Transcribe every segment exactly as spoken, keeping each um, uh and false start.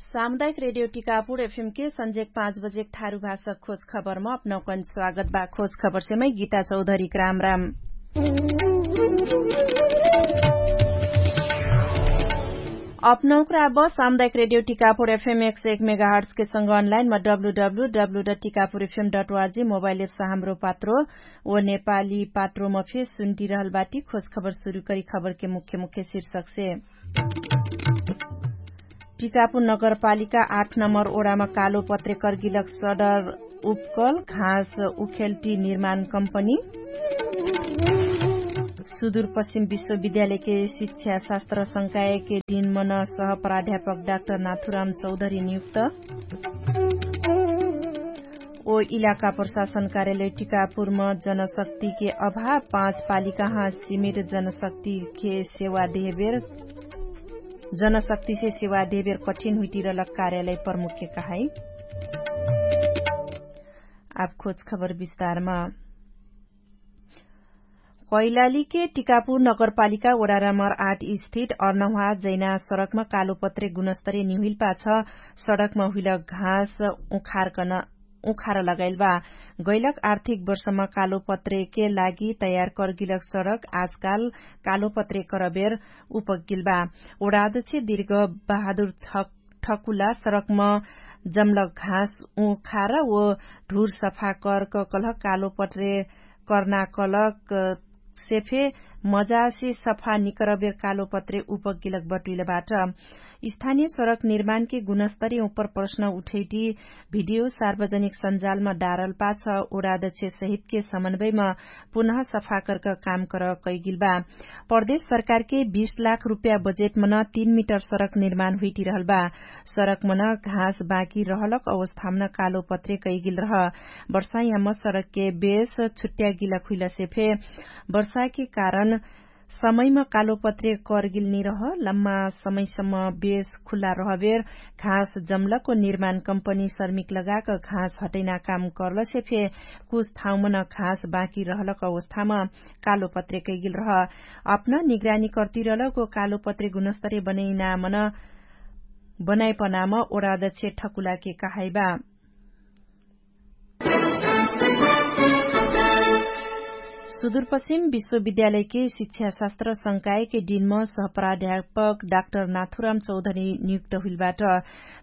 सामुदायिक रेडियो टिकापुर एफएमके सन्जेक पाँच बजेक ठारु भाषा खोज खबरमा अपनौकन स्वागत बा। खोज खबरसेमै गीता चौधरीक रामराम। अपनौकरा अब सामुदायिक रेडियो टिकापुर एफएम एक सय एक मेगाहर्ट्सके संग अनलाइनमा W W W dot Tikapur FM dot ORG mobile apps Hamro Patro ओ नेपाली पात्रोमा फे सुन्टिरहल बाटी। खोज खबर सुरु करी खबरके मुख्य मुख्य शीर्षकसे। टिकापुर नगरपालिका आठ नम्बर ओडामा कालो पत्रे कर्गिलक सडर उपकल घाँस उखेल्टी निर्माण कम्पनी। सुदूरपश्चिम विश्वविद्यालयके शिक्षा शास्त्र संकायके डिनमन सह प्राध्यापक डाक्टर नाथुराम चौधरी नियुक्त। ओ इलाका प्रशासन कार्यालय टिकापुरम जनशक्तिके अभाव पाँच पालिकाहाँ सिमेट जनशक्तिके सेवा देहेबेर जनशक्तिसे सेवा देहेबेर कठिन हुइटिरलक कार्यालय प्रमुखके कहाई। आब खोज खबर विस्तारमा। कैलालीके टिकापुर नगरपालिका ओडा नम्बर आठ स्थित अर्नहुवा जैना सडकमा कालोपत्रे गुणस्तरे निहुइल पाछ सडकमा हुइल घाँस उखार लगाइल बा। गैलक आर्थिक वर्षमा कालोपत्रेके लागि तयार कर्गिलक सडक आजकाल कालोपत्रे करबेर उपगिल बा। ओडादछे दिर्घ बहादुर ठकुला सडकमा जमलक घाँस उखार ओ ढुर सफा करक कलह कालोपत्रे कर्ना कलक सेफे मजासे सफा निकरबेर कालोपत्रे उपगिलक बटुइल बाट। स्थानिय सडक निर्माणके गुणस्तरी उपर प्रश्न उठैटी भिडियो सार्वजनिक सञ्जालमा डारल पाछ ओडादछे सहितके समन्वयमा पुनः सफा करक काम कर कैगिल बा। प्रदेश सरकारके बीस लाख रुपया बजेटमन तीन मिटर सडक निर्माण हुइटिरहल बा। सडकमन घाँस बाँकी रहलक अवस्थामन कालोपत्रे कैगिल रह। वर्षायाम सडकके बेस छुट्यागिलक हुइलसे फे वर्षाके कारण समयमा कालोपत्रे कर्गिल निरह लम्मा समयसम्म बेस खुल्ला रहबेर घाँस जमलक ओ निर्माण कम्पनी सर्मिक लगाक घाँस हटैना काम कर्लसे फे कुछ ठाउँमन घाँस बाँकी रहलक अवस्थाम कालोपत्रे कैगिल रह। अपना निगरानी कर्तिरलक ओ कालोपत्रे गुणस्तरे बनैनामन बनाइपनाम ओडादछे ठकुलाके कहाइबा। सुदूरपश्चिम विश्वविद्यालयके शिक्षाशास्त्र संकायके डिनम सहप्राध्यापक डाक्टर नाथुराम चौधरी नियुक्त हुइलबाट।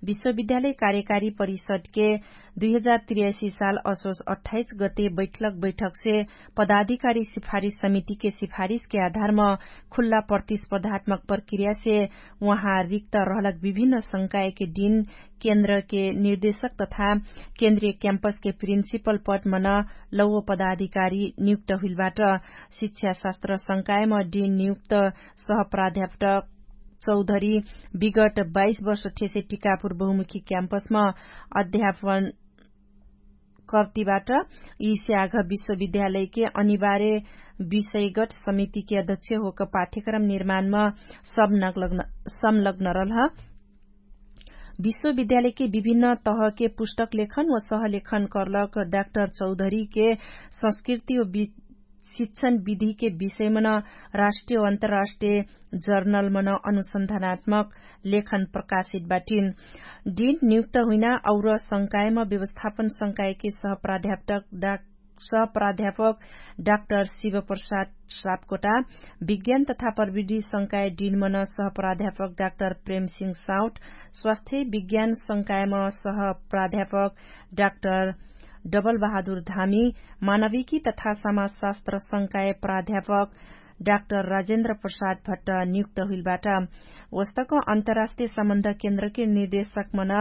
विश्वविद्यालय कार्यकारी परिषदके दुई हजार त्रियासी साल असोस अट्ठाइस गते बैठलक बैठकसे पदाधिकारी सिफारिस समितिके सिफारिसके आधारम खुल्ला प्रतिस्पर्धात्मक प्रक्रियासे उहाँ रिक्त रहलक विभिन्न संकायके डिन केन्द्रके निर्देशक तथा केन्द्रीय क्याम्पसके प्रिन्सिपल पदमन लौव पदाधिकारी नियुक्त हुइलबाट। शिक्षाशास्त्र संकायम डिन नियुक्त सहप्राध्यापक चौधरी विगट बाइस वर्ष ठेसे टिकापुर बहुमुखी क्याम्पसम अध्यापन कर्तिबाट यि स्याघ विश्वविद्यालयके अनिवार्य विषयगट समितिके अध्यक्ष होक पाठ्यक्रम निर्माणम संलग्न रहल ह। विश्वविद्यालयके विभिन्न तहके पुस्तक लेखन व सहलेखन कर्लक डाक्टर चौधरीके संस्कृति व शिक्षण विधिके विषयमन राष्ट्रिय अन्तराष्ट्रिय जर्नलमन अनुसन्धानात्मक लेखन प्रकाशित बाटिन। डिन नियुक्त हुइना और संकायम व्यवस्थापन संकायके सहप्राध्यापक डाक्टर शिवप्रसाद सापकोटा, विज्ञान तथा प्रविधि संकाय डिनमन सहप्राध्यापक डाक्टर प्रेमसिंह साउट, स्वास्थ्य विज्ञान संकायम सहप्राध्यापक डाक्टर डबलबहादुर धामी, मानविकी तथा समाजशास्त्र संकाय प्राध्यापक डाक्टर राजेन्द्र प्रसाद भट्ट नियुक्त हुइलबाट। वस्तक अन्तराष्ट्रिय सम्बन्ध केन्द्रके निर्देशकमन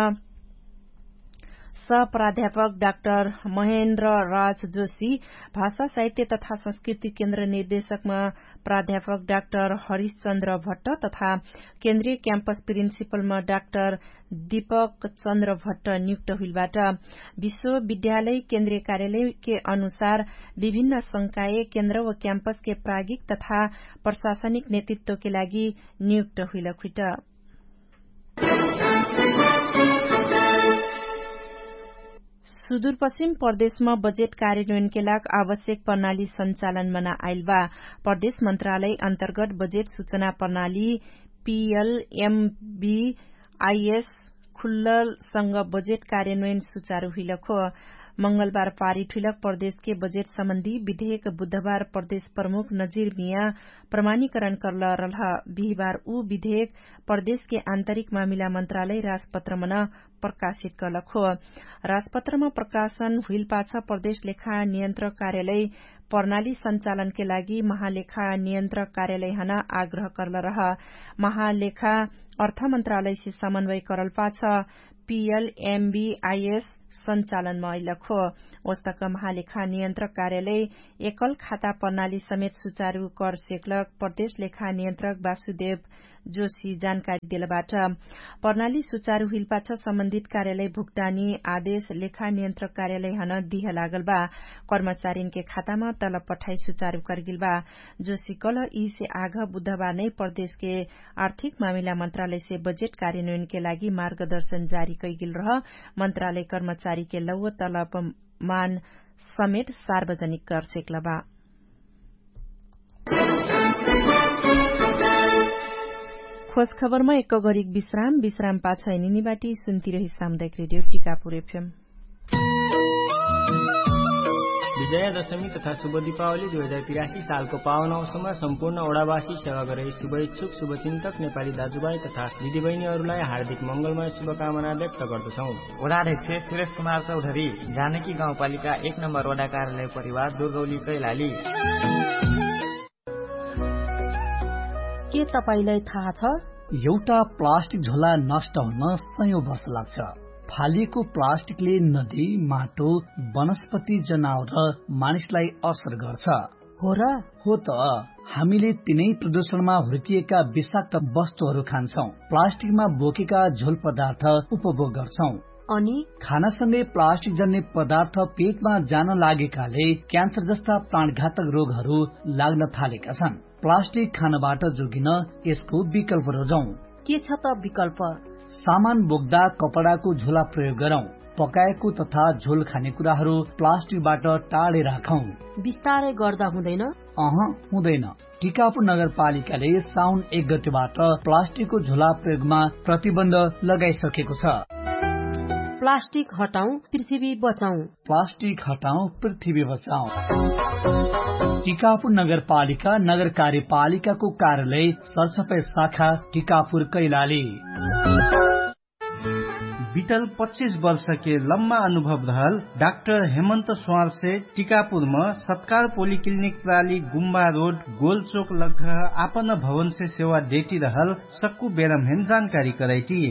सहप्राध्यापक डाक्टर महेन्द्र राज जोशी, भाषा साहित्य तथा संस्कृति केन्द्र निर्देशकमा प्राध्यापक डाक्टर हरिशचन्द्र भट्ट तथा केन्द्रीय क्याम्पस प्रिन्सिपलमा डाक्टर दीपक चन्द्र भट्ट नियुक्त हुइलबाट। विश्वविद्यालय केन्द्रीय कार्यालयके अनुसार विभिन्न संकाय केन्द्र व क्याम्पसके प्रागिक तथा प्रशासनिक नेतृत्वके लागि नियुक्त हुइलक हुइट। सुदूरपश्चिम प्रदेशमा बजेट कार्यान्वयनके लाग आवश्यक प्रणाली सञ्चालनमा आइल बा। प्रदेश मन्त्रालय अन्तर्गत बजेट सूचना प्रणाली पीएलएमबी आइएस खुल्ललसँग बजेट कार्यान्वयन सुचारु हुइलक हो। मंगलबार पारित हुइलक प्रदेशके बजेट सम्बन्धी विधेयक बुधबार प्रदेश प्रमुख नजिर मिया प्रमाणीकरण कर्ल रल्ह। बिहिबार उ विधेयक प्रदेशके आन्तरिक मामिला मन्त्रालय राजपत्रमन प्रकाशित कर्लक हो। राजपत्रमा प्रकाशन हुइलपाछ प्रदेश लेखा नियन्त्रक कार्यालय प्रणाली सञ्चालनके लागि महालेखा नियन्त्रक कार्यालयहन आग्रह कर्ल रह। महालेखा अर्थमन्त्रालयसे समन्वय करलपाछ पिएलएमबिआइएस सञ्चालनमा अइलक हो। ओस्तक महालेखा नियन्त्रक कार्यालय एकल खाता प्रणाली समेत सुचारु कर सेक्लक प्रदेश लेखा नियन्त्रक वासुदेव जोशी जानकारी देलबाट। प्रणाली सुचारु हुइलपाछ सम्बन्धित कार्यालय भुक्तानी आदेश लेखा नियन्त्रक कार्यालयहन दिह लागलबा। कर्मचारीनके खातामा तलब पठाइ सुचारु करगेलबा। जोशी कलह यिसे आघ बुधबार नै प्रदेशके आर्थिक मामिला मन्त्रालयसे बजेट कार्यान्वयनके लागि मार्गदर्शन जारी कैगेल रह। मन्त्रालय कर्मचारीके लौव तलब मान समेट सार्वजनिक करसेक्लबा। खोज खबरमा एक गरिक विश्राम विश्राम पाछ निनिबाटी सुन्तिरही सामुदायिक रेडियो टिकापुर एफएम। विजया दशमी तथा शुभ दिपावली दुई हजार तिरासी सालको पावन अवसरमा सम्पूर्ण ओडावासी सेवा गरे शुभेच्छुक शुभचिन्तक नेपाली दाजुभाइ तथा दिदीबहिनीहरूलाई हार्दिक मङ्गलमय शुभकामना व्यक्त गर्दछौँ। ओडाध्यक्ष सुरेश कुमार चौधरी, जानकी गाउँपालिका एक नम्बर ओडा कार्यालय परिवार दुर्गौली कैलाली। के तपाईंलाई थाहा छ? एउटा प्लास्टिक झोला नष्ट हुन सयौं वर्ष लाग्छ। फालिएको प्लास्टिकले नदी, माटो, वनस्पति, जनावर र मानिसलाई असर गर्छ। हो र? हो त। हामीले तिनै प्रदूषणमा हुर्किएका विषाक्त वस्तुहरू खान्छौं, प्लास्टिकमा बोकेका झोल पदार्थ उपभोग गर्छौं। अनि? खानासँगै प्लास्टिक जन्ने पदार्थ पेटमा जान लागेकाले क्यान्सर जस्ता प्राणघातक रोगहरू लाग्न थालेका छन्। प्लास्टिक खानबाट जोगिन यसको विकल्प रोजौं। के छ त विकल्प? सामान बोक्दा कपडाको झोला प्रयोग गरौं। पकाएको तथा झोल खाने कुराहरू प्लास्टिकबाट टाढे राखौं। बिस्तारै गर्दा हुँदैन? अह, हुँदैन। टिकापुर नगरपालिकाले साउन एक गतिबाट प्लास्टिकको झोला प्रयोगमा प्रतिबन्ध लगाइसकेको छ। प्लास्टिक हटाउँ, पृथ्वी बचाउँ। प्लास्टिक हटाउँ, पृथ्वी बचाउँ। टिकापुर नगरपालिका नगर कार्यपालिकाको कार्यालय सरसफाइ शाखा टिकापुर कैलाली। बितल पच्चिस वर्षके लम्मा अनुभव रहल डाक्टर हेमन्त स्वारसे टिकापुरम सत्कार पोलिक्लिनिक प्राली गुम्बा रोड गोलचोक लग्घ आपन भवनसे सेवा देटी रहल सक्कु बेरमहेन जानकारी करैटी।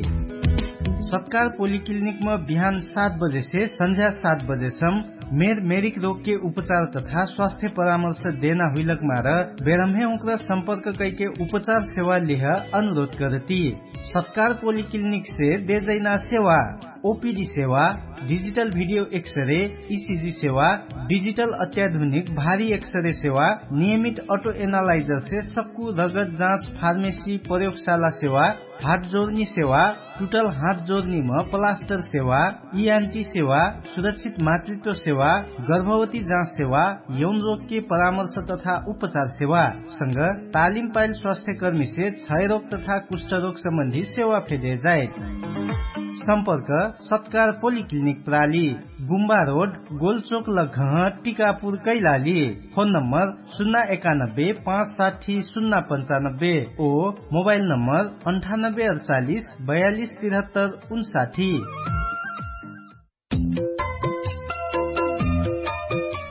सत्कार पोलिक्लिनिकम बिहान सात बजेसे सन्झ्या सात बजेसम मेर मेरिक रोगके उपचार तथा स्वास्थ्य परामर्श देना हुइलक मार बेरमहे उक्र सम्पर्क कैके उपचार सेवा लिह अनुरोध करती। सत्कार पोलिक्लिनिकसे देजैना सेवा ओपिडी सेवा, डिजिटल भिडियो एक्सरे, इसिजी सेवा, डिजिटल अत्याधुनिक भारी एक्सरे सेवा, नियमित अटो एनालाइजरसे सक्कु रगत जाँच फार्मेसी प्रयोगशाला सेवा, हाट जोर्नी सेवा, टुटल हाट जोर्नीम प्लास्टर सेवा, इआन्टी सेवा, सुरक्षित मातृत्व सेवा, गर्भवती जाँच सेवा, यौन रोगके परामर्श तथा उपचार सेवा संग तालिम पाइल स्वास्थ्यकर्मीसे क्षयरोग तथा कुष्ठरोग सम्बन्धी सेवा फेदे जाइत। सम्पर्क सत्कार पोलिक्लिनिक प्राली, गुम्बा रोड, गोलचोक लग्घह, टिकापुर कैलाली। फोन नम्बर सुन्ना एकानब्बे पाँच साठी सुन्ना पन्चानब्बे ओ मोबाइल नम्बर अन्ठानब्बे अडचालिस बयालिस तिरहत्तर उन्साठी।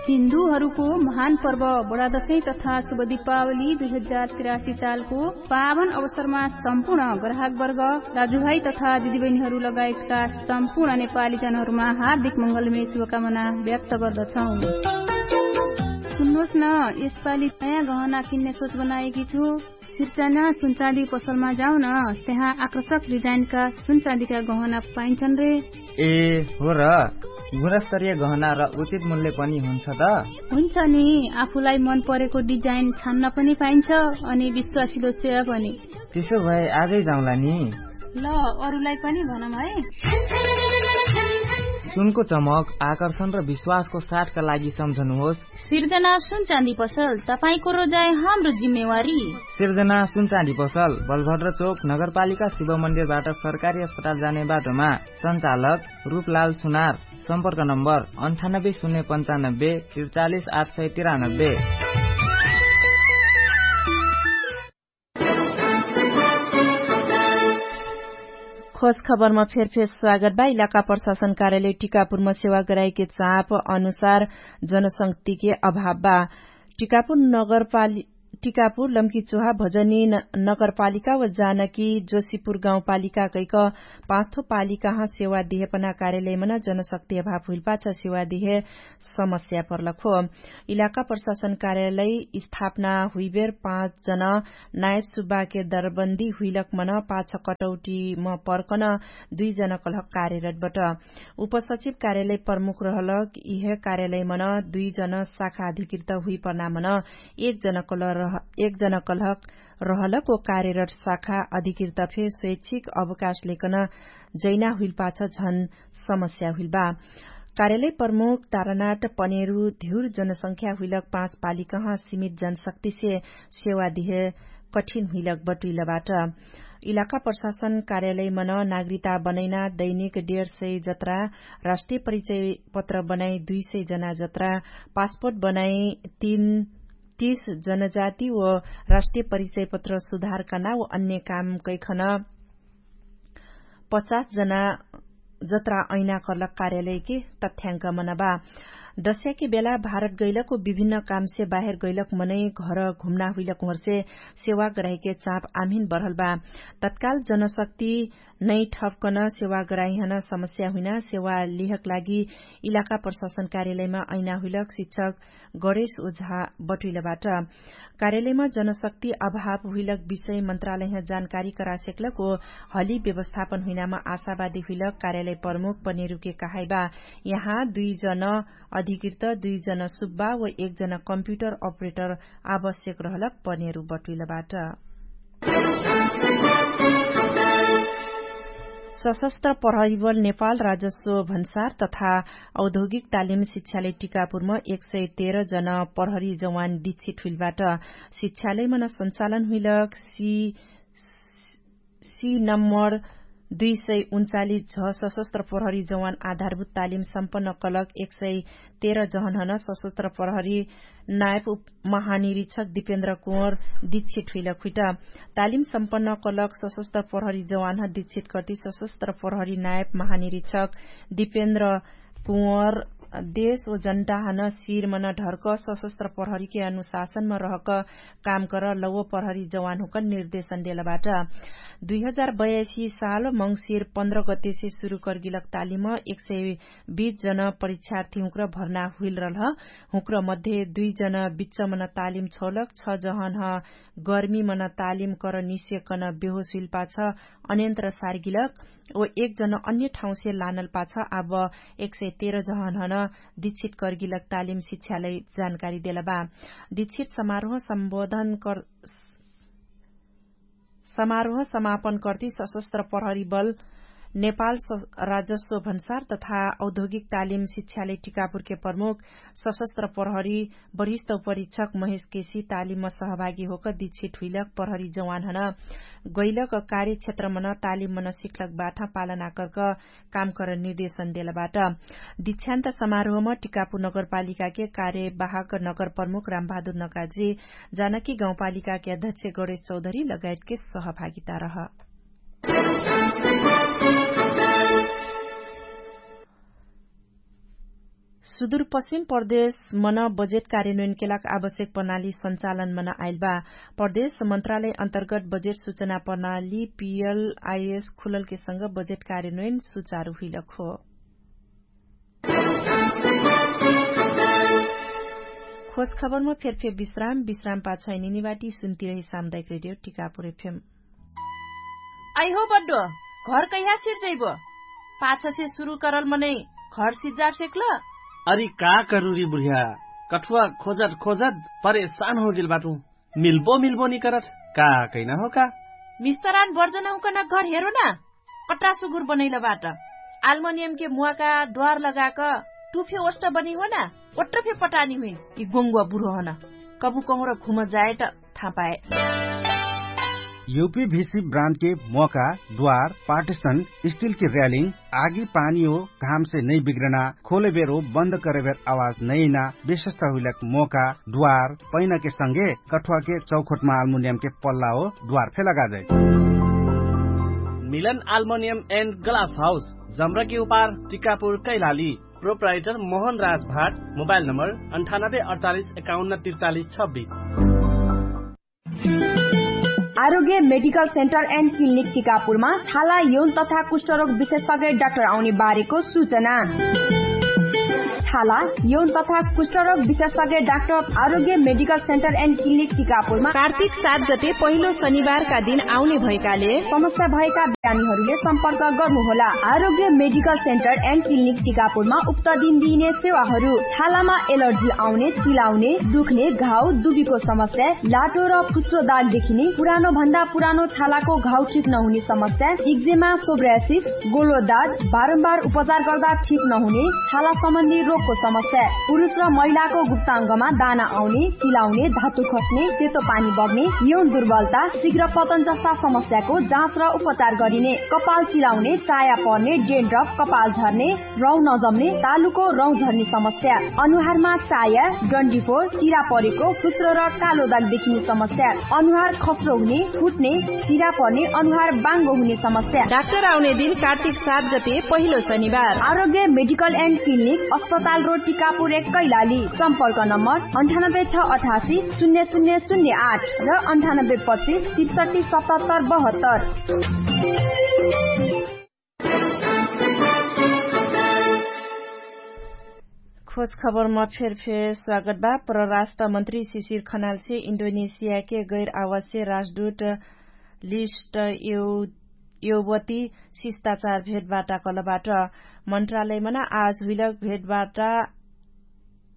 हिन्दूहरूको महान पर्व बडादशैं तथा शुभ दिपावली दुई हजार तिरासी सालको पावन अवसरमा सम्पूर्ण ग्राहकवर्ग, दाजुभाइ तथा दिदीबहिनीहरू लगायतका सम्पूर्ण नेपाली जनहरूमा हार्दिक मङ्गलमय शुभकामना व्यक्त गर्दछौँ। सुन्नुहोस् न, यसपालि नयाँ गहना किन्ने सोच बनाएकी छु। सिर्चाना सुनचाँदी पसलमा जाउन, त्यहाँ आकर्षक डिजाइनका सुनचाँदीका गहना पाइन्छन् रे। ए हो र, गुणस्तरीय गहना र उचित मूल्य पनि हुन्छ त? हुन्छ नि, आफूलाई मन परेको डिजाइन छान्न पनि पाइन्छ अनि विश्वासिलो सेवा पनि। त्यसो भए आजै जाउँला नि। ल, अरूलाई पनि भनौँ है। सुनको चमक आकर्षण र विश्वासको साथका लागि सम्झनुहोस्। सिर्जना सुनचाँदी पसल, तपाईंको रोजाइ हाम्रो जिम्मेवारी। सिर्जना सुनचाँदी पसल, बलभद्र चोक, नगरपालिका शिव मन्दिरबाट सरकारी अस्पताल जाने बाटोमा। सञ्चालक रूपलाल सुनार। सम्पर्क नम्बर अन्ठानब्बे शून्य पन्चानब्बे त्रिचालिस आठ सय तिरानब्बे। खोज खबरमा फेरफेर स्वागत बा। इलाका प्रशासन कार्यालय टिकापुरमा सेवा गराएके चाप अनुसार जनशक्तिके अभाव बा। टिकापुर नगरपालि टिकापुर लम्कीचोहा भजनी नगरपालिका व जानकी जोशीपुर गाउँपालिका कैक पाँचथो पालिकाह सेवा दिहेपना कार्यालयमन जनशक्ति अभाव हुइलपाछ सेवा दिहे समस्या पर्लक हो। इलाका प्रशासन कार्यालय स्थापना हुइबेर पाँच जन नायब सुब्बाके दरबन्दी हुइलक मन पाछ कटौटीम पर्कन दुइ जन कलहक कार्यरत बट। उपसचिव कार्यालय प्रमुख रहलक इहे कार्यालयमन दुइ जन शाखा अधिकृत हुइपर्नामन एक जन कलहक रहलक ओ कार्यरत शाखा अधिकृत फे स्वैच्छिक अवकाश लेकन जैना हुइलपाछ झन समस्या हुइलबा। कार्यालय प्रमुख तारानाट पनेरु धिउर जनसंख्या हुइलक पाँच पालिकह सीमित जनशक्तिसे सेवा दिहे कठिन हुइलक बटुइलबाट। इलाका प्रशासन कार्यालयमन नागरिकता बनैना दैनिक डेढ सय जत्रा राष्ट्रिय परिचय पत्र बनाइ दुई सय जना जत्रा पासपोर्ट बनाइ तीन तीस जनजाति व राष्ट्रिय परिचय पत्र सुधार कर्ना व अन्य काम कैखन पचास जना जत्रा ऐना कर्लक कार्यालयके तथ्याङ्क मनबा। दस्याके बेला भारत गैलक व विभिन्न कामसे बाहेर गैलक मनै घर घुम्ना हुइलक उहरसे सेवा गराइके चाप आम्हिन बढलबा। तत्काल जनशक्ति नै ठपकन सेवा गराइहन समस्या हुइना सेवा लिहक लागि इलाका प्रशासन कार्यालयमा ऐना हुइलक शिक्षक गणेश ओझा बटुइलबाट। कार्यालयमा जनशक्ति अभाव हुइलक विषय मन्त्रालयह जानकारी करासेक्लक ओ हली व्यवस्थापन हुइनामा आशावादी हुइलक कार्यालय प्रमुख पनेरुके कहाइबा। यहाँ दुइ जन अधिकृत दुइ जन सुब्बा व एक जन कम्प्युटर अपरेटर आवश्यक रहलक पनेरु बटुइलबाट। सशस्त्र प्रहरीबल नेपाल राजस्व भन्सार तथा औद्योगिक तालिम शिक्षालय टिकापुरमा एक सय तेह्र जन प्रहरी जवान दीक्षित हुइलबाट। शिक्षालयमन सञ्चालन हुइलक सी सी नम्बर दुई सय उन्चालिस झ सशस्त्र प्रहरी जवान आधारभूत तालिम सम्पन्न कलक एक सय तेह्र जहनहन सशस्त्र प्रहरी नायब महानिरीक्षक दिपेन्द्र कुँवर दीक्षित हुइलक हुइट। तालिम सम्पन्न कलक सशस्त्र प्रहरी जवानह दीक्षित कर्ति सशस्त्र प्रहरी नायब महानिरीक्षक दिपेन्द्र कुँवर देश व जनताहन शिरमन ढर्क सशस्त्र प्रहरीके अनुशासनमा रहक काम कर लौव प्रहरी जवान हुँक निर्देशन देलबाट। दुई हजार बयासी साल मङ्सिर पन्ध्र गतेसे सुरु कर्गिलक तालिम एक सय बीस जन परीक्षार्थी हुँक्र भर्ना हुइलरलह। हुँक्र मध्ये दुइ जन बिच्चमन तालिम छौलक छ जहनह गर्मीमन तालिम कर निस्यकन बेहोस हुइलपाछ अन्यन्त्र सार्गिलक ओ एक जन अन्य ठाउँसे लानलपाछ आब एक सय तेह्र जहनहन दीक्षित कर्गिलक तालिम शिक्षालय जानकारी देलबा। दीक्षित समारोह सम्बोधन कर समारोह समापन कर्ति सशस्त्र प्रहरी बल नेपाल राजस्व भन्सार तथा औद्योगिक तालिम शिक्षालय टिकापुरके प्रमुख सशस्त्र प्रहरी वरिष्ठ उपरीक्षक महेश केसी तालिममा सहभागी होक दीक्षित हुइलक प्रहरी जवानहन गैलक कार्यक्षेत्रमन तालिममन सिक्लक बाठा पालना कर्क काम कर निर्देशन देलबाट। दीक्षान्त समारोहमा टिकापुर नगरपालिकाके कार्यवाहक नगर प्रमुख रामबहादुर नकाजी जानकी गाउँपालिकाके अध्यक्ष गणेश चौधरी लगायतके सहभागिता रह। सुदुरपश्चिम प्रदेश मन बजेट कार्यन्वयनके लाग आवश्यक प्रणाली सञ्चालन मन आइल बा। प्रदेश मन्त्रालय अन्तर्गत बजेट सुचना प्रणाली पीएलआइएस खुललके संग बजेट कार्यन्वयन सुचारु हुइलक हो। खोज खबरमा फेरफेर विश्राम विश्राम पाछै निनिवाटी सुन्तिरही सामुदायिक रेडियो टिकापुर एफएम। आइहो बड्डो, घर कैहा सिर्जैबो? पाछसे सुरु करल मनै घर सिज्जार सेक्ल? अरि का करुरी बुढिया, कठुवा खोजत खोजत परेशान होगेल बाटु। मिल्बो मिल्बो निकरत का कैना हो का? मिस्तरान बर्जन हुँकन घर हेरो ना, कट्रा सुगुर बनैल बाट। आल्मोनियमके मुवाका द्वार लगाक टुफे ओष्ट बनी होना ओट्रफे पटानी हुइन। यि गोङ्गुवा बुर्हो हन कबु कहुँर घुम जाएट थापाए। युपी भिसी ब्रान्डके मोका द्वार पार्टिसन स्टिलके र्यालिङ आगी पानी हो घामसे नै बिग्रना खोलेबेर हो बन्द करेबेर आवाज नैना विशेषता हुइलक मोका द्वार पैनाके संगे कठुवाके चौखोटमा आल्मुनियमके पल्ला हो द्वार फेला गाजै। मिलन आल्मोनियम एन्ड ग्लास हाउस जम्रकी उपार टिकापुर कैलाली। प्रोप्राइटर मोहन राज भाट। मोबाइल नम्बर अन्ठानब्बे अडचालिस एकाउन्न त्रिचालिस छब्बिस। आरोग्य मेडिकल सेन्टर एन्ड क्लिनिक टिकापुरमा छाला यौन तथा कुष्ठरोग विशेषज्ञ डाक्टर आउने बारेको सूचना। छाला यौन तथा कुष्ठरोग विशेषज्ञ डाक्टर आरोग्य मेडिकल सेन्टर एन्ड क्लिनिक टिकापुरमा कार्तिक सात गते पहिलो शनिबारका दिन आउने भएकाले समस्या भएका बिरामीहरूले सम्पर्क गर्नुहोला। आरोग्य मेडिकल सेन्टर एन्ड क्लिनिक टिकापुरमा उक्त दिन दिइने सेवाहरू छालामा एलर्जी आउने, चिलाउने, दुख्ने, घाउ दुबीको समस्या, लाटो र फुस्रो दाग देखिने, पुरानो भन्दा पुरानो छालाको घाउ ठिक नहुने समस्या, इक्जेमा, सोब्रासिस, गोलो दाग, बारम्बार उपचार गर्दा ठिक नहुने छाला सम्बन्धी रोगको समस्या, पुरुष र महिलाको गुप्ताङ्गमा दाना आउने, चिलाउने, धातु खस्ने, सेतो पानी बग्ने, यौन दुर्बलता, शीघ्र पतन जस्ता समस्याको जाँच र उपचार गरिने। कपाल चिलाउने, चाया पर्ने, डेन्ड्रप, कपाल झर्ने, रौँ नजम्ने, तालुको रौँ झर्ने समस्या, अनुहारमा चाया, डन्डीफोर, चिरा परेको, फुस्रो र कालो दाग देखिने समस्या, अनुहार खस्रो हुने, फुट्ने, चिरा पर्ने, अनुहार बाङ्गो हुने समस्या। डाक्टर आउने दिन कार्तिक सात गते पहिलो शनिबार। आरोग्य मेडिकल एन्ड क्लिनिक, अस्पताल रोड, टिकापुर एक, कैलाली। सम्पर्क नम्बर अन्ठानब्बे छ अठासी शून्य शून्य शून्य आठ र अन्ठानब्बे पच्चिस त्रिसठी सतहत्तर बहत्तर। खोज खबरमा फेरफेर स्वागत बा। परराष्ट्र मन्त्री शिशिर खनालसे इन्डोनेसियाके गैर आवासीय राजदूत लिस्ट एवती शिष्टाचार भेटबाटा कलबाट। मन्त्रालयमना आज हुइलक भेटबाटा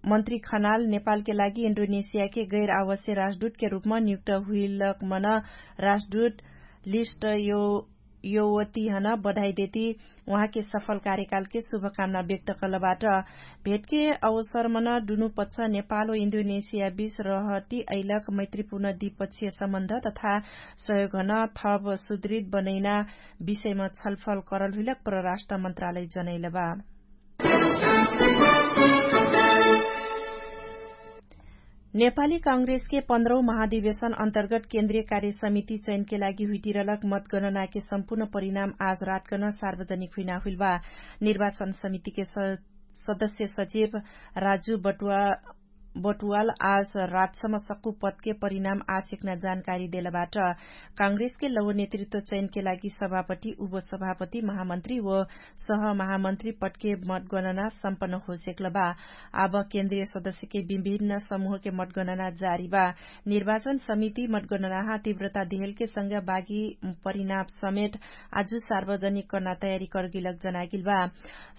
मन्त्री खनाल नेपालके लागि इन्डोनेसियाके गैर आवासीय राजदूतके रूपमा नियुक्त हुइलकमना राजदूत लिस्ट यो योवतिहन बधाई देती उहाँके सफल कार्यकालके शुभकामना व्यक्त कलबाट। भेटके अवसरमन दुनु पच्छ नेपाल व इन्डोनेसिया बीच रहती अइलक मैत्रीपूर्ण द्विपक्षीय सम्बन्ध तथा सहयोगहन थप सुदृढ बनैना विषयमा छलफल करल हुइलक परराष्ट्र मन्त्रालय जनैलबा। नेपाली काङ्ग्रेसके पन्ध्रौ महाधिवेशन अन्तर्गत केन्द्रीय कार्य समिति चयनके लागि हुइटिरलक मतगणनाके सम्पूर्ण परिणाम आज रातकन सार्वजनिक हुइना हुइलबा। निर्वाचन समितिके सदस्य सचिव राजु बटुवाल आज रातसम्म सक्कु पदके परिणाम आछेक्ना जानकारी देलबाट। काङ्ग्रेसके लौ नेतृत्व चयनके लागि सभापति, उपसभापति, महामन्त्री व सह महामन्त्री पटके मतगणना सम्पन्न होसेक्लबा। आब केन्द्रीय सदस्यके विभिन्न समूहके मतगणना जारीबा। निर्वाचन समिति मतगणनाहा तीव्रता देहेलके संग बागी परिणाम समेट आजु सार्वजनिक कर्ना तयारी करगिलक जनागिलबा।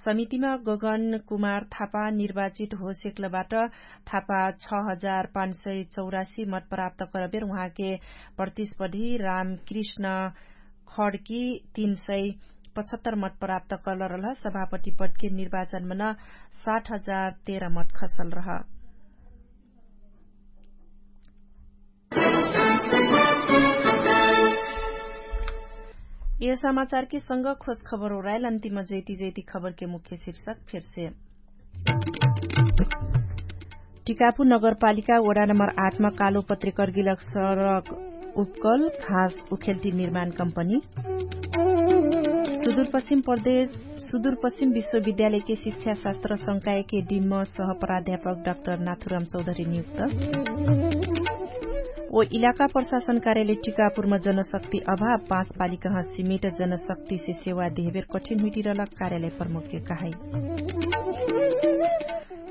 समितिमा गगन कुमार थापा निर्वाचित होसेक्लबाट। थापा छ हजार पाँच सय चौरासी मत प्राप्त करबेर उहाँके प्रतिस्पधी रामकृष्ण खड्की तीन सय पचहत्तर मत प्राप्त करलरलह। सभापति पदके निर्वाचनमन साठ हजार तेह्र मत खसलरह। यो समाचारके संग खोज खबर ओराइल अन्तिम जैती जैती खबरके मुख्य शीर्षक फेरसे। टिकापु नगरपालिका वडा नम्बर आठमा कालो पत्रिकर गिलक सडक उपकल घाँस उखेल्टी निर्माण कम्पनी। सुदूरपश्चिम प्रदेश सुदूरपश्चिम विश्वविद्यालयके शिक्षाशास्त्र संकायके डिम्म सह प्राध्यापक डाक्टर नाथुराम चौधरी नियुक्त। ओ इलाका प्रशासन कार्यालय टिकापुरमा जनशक्ति अभाव पाँच पालिकाह सिमिट जनशक्तिसे सेवा देहेबेर कठिन हुइटिरलक कार्यालय प्रमुखके कहाई।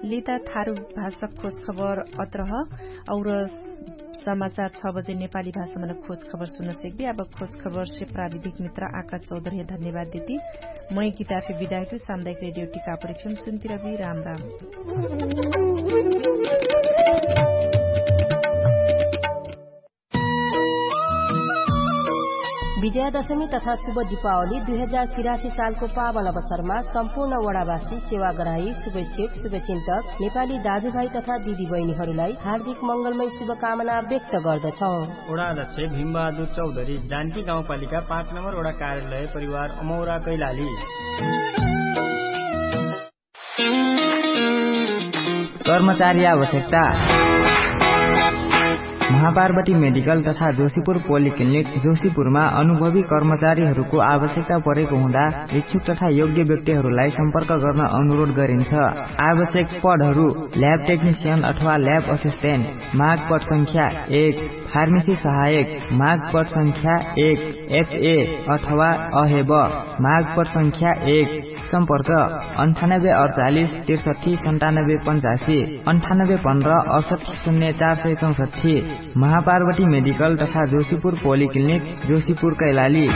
लिता थारु भाषा खोज खबर अत्रह। और समाचार छ बजे नेपाली भाषामा खोज खबर सुन्न सेक्बी। अब खोज खबरसे प्राविधिक मित्र आका चौधरी धन्यवाद देती। मै किताफे विदायकु सामुदायिक रेडियो टिकापुर एफएम सुन्तिरबी। राम राम। विजयादशमी तथा शुभ दिपावली दुई हजार तिरासी सालको पावन अवसरमा सम्पूर्ण वडावासी, सेवाग्राही, शुभेच्छुक, शुभचिन्तक, नेपाली दाजुभाइ तथा दिदीबहिनीहरूलाई हार्दिक मङ्गलमय शुभकामना व्यक्त गर्दछौँ। वडाध्यक्ष भीमबहादुर चौधरी, जानकी गाउँपालिका पाँच नम्बर वडा कार्यालय, परिवार अमौरा कैलाली। कर्मचारी आवश्यकता। महापार्वती मेडिकल तथा जोशीपुर पोलिक्लिनिक जोशीपुरमा अनुभवी कर्मचारीहरूको आवश्यकता परेको हुँदा इच्छुक तथा योग्य व्यक्तिहरूलाई सम्पर्क गर्न अनुरोध गरिन्छ। आवश्यक पदहरू ल्याब टेक्निसियन अथवा ल्याब असिस्टेन्ट, माग पद संख्या एक, फार्मेसी सहायक, माग पद संख्या एक, एचए अथवा अहेब, माग पद संख्या एक। सम्पर्क अन्ठानब्बे अडचालिस त्रिसठी सन्तानब्बे पन्चासी, अन्ठानब्बे पन्ध्र अडसठी शून्य चार सय चौसठी। महापार्वती मेडिकल तथा जोशीपुर पोलिक्लिनिक, जोशीपुर कैलाली।